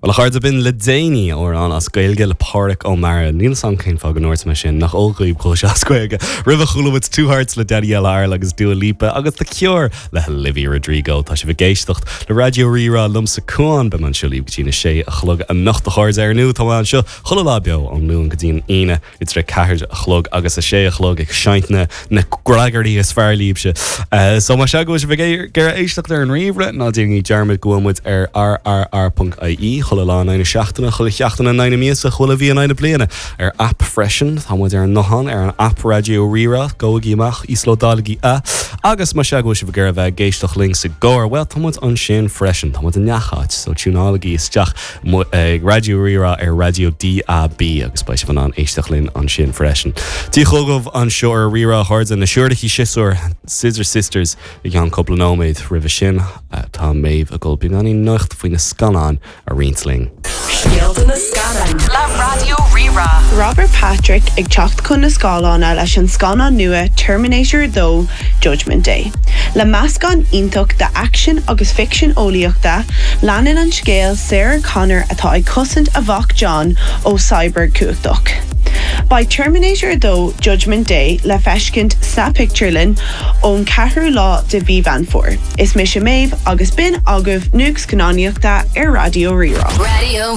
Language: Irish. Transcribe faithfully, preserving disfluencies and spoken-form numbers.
Well a chairde b'in le déanaí amhrán as Gaeilge le Pádraic Ó Meara níl san cén fáth go ndúirt mé sin nach ógaib go as Gaeilge. Roimhe chuala muid Two Hearts le Daniela Arl agus Dua Lipa agus The Cure le Olivia Rodrigo tá sibh ag éisteacht le Raidió Rí-Rá liomsa Cuan beidh mé anseo libh go dtí na sé a chlog anocht a chairde ar ndóigh tá anseo chuile lá beo ón Luan go dtí an Aoine idir a ceathair a chlog agus a sé a chlog ag seinnt na na gragarí is fearr libhse. Uh, so má se go sibh ag éisteacht ar an ríomhaire ná déanaigí dearmad go bhfuil muid ar rrr.ie chuile lá na seachtaine chuile sheachtain na míosa chuile mhí na bliana ar app freisin tá muid ar an nguthán ar an app Raidió Rí-Rá gabhaigí amach íoslódálaigí é agus má se go sibh ag iarraidh bheith ag éisteacht linn sa gcarr well tá muid ansin freisin tá muid i ngach áit so tiúnálaigí isteach ag Raidió Rí-Rá ar raidió DAB agus beidh sibh in ann éisteacht linn ansin freisin. Dia chugaibh anseo ar Rí-Rá a chairde na siúrachaí siosúr Scissor Sisters i gceann cúpla nóiméad roimhe sin tá Méabh ag dul beagáinín nuacht faoi na scannáin a roinnt linn. Scéalta na scannán le Raidió Rí-Rá. Robert Patrick ag teacht chun na scáileáin leis an scannán nua Terminator dó Judgment Day. Le meascán iontach de action agus ficsean eolaíochta, leanann an scéal Sarah Connor atá ag cosaint a mhac John ó cyborg cumhachtach. Beidh Terminator dó Judgment Day le feiscint sna pictiúrlanna ón ceathrú lá de mhí Mheán Fómhair. Is mise Méabh agus b'in agaibh nuacht scannánaíochta ar Raidió Rí-Rá. Raidió